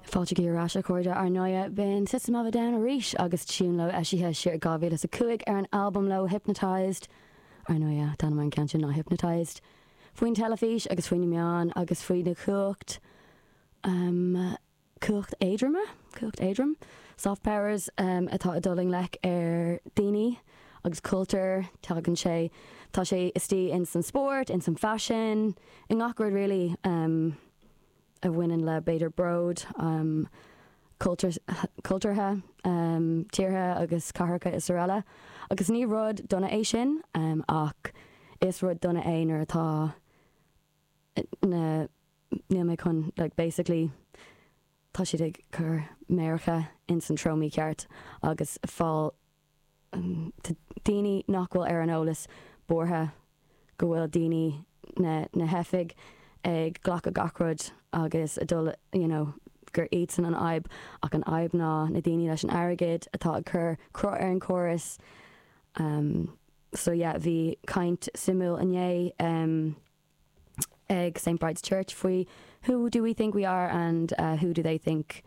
Fáilte ar ais a chairde ar ndóighe b'in System of a Down arís agus tune leo eisithe siar i 2005 ar an albam leo Hypnotized. Ar ndóighe, an t-ainm ar an gceann sin ná Hypnotized. Faoin teilifís agus faoi na meáin agus faoi na cumhacht, um, cumhacht éadroime? Cumhacht éadrom? Soft powers, um, atá ag dul i ngleic ar daoine agus cultúr, tagann sé, tá sé istigh ins an spórt, ins an faisean, i ngach rud really. Um, a bhaineann le, b'fhéidir, bród cultúrtha tíortha agus cathracha is araile. Agus ní rud dona é sin, ach is rud dona é nuair atá na, níl mé chun, like, basically, tá siad ag cur méaracha ins an treo mícheart agus fáil Tá daoine nach bhfuil ar an eolas buartha go bhfuil daoine na na hoifig ag glacadh gach rud agus ag dul you know gur iadsan an fhadhb ach an fhadhb ná na daoine leis an airgead atá ag cur cruth ar an chóras. So yeah bhí caint suimiúil inné ag St Bride's Church faoi Who do we think we are and who do they think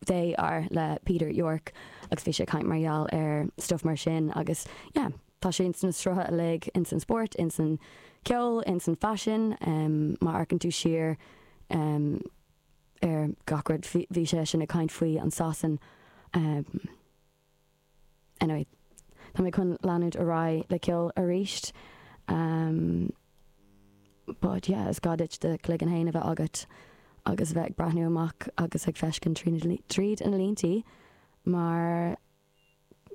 they are le Peter Yorke agus bhí sé ag caint mar gheall ar stuff mar sin agus yeah tá sé ins na srutha uilig, ins an spórt, ins an ceol, ins an faisean, má amharcann tú siar ar gach rud bhí sé sin ag caint faoi an Sasain. Anyway, tá mé chun leanúint ar aghaidh le ceol arís. But yeah, is gá duit do chloigeann fhéin a bheith agat agus a bheith ag breathnú amach agus ag feiscint tríd na líntí mar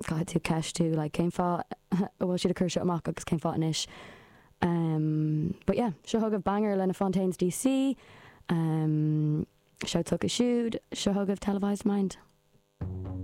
caithfidh tú ceistiú like cén fáth a bhfuil siad ag cur seo amach agus cén fáth anois. But yeah, seo chugaibh banger le na Fontaines DC. Seo s'acu siúd, seo chugaibh Televised Mind.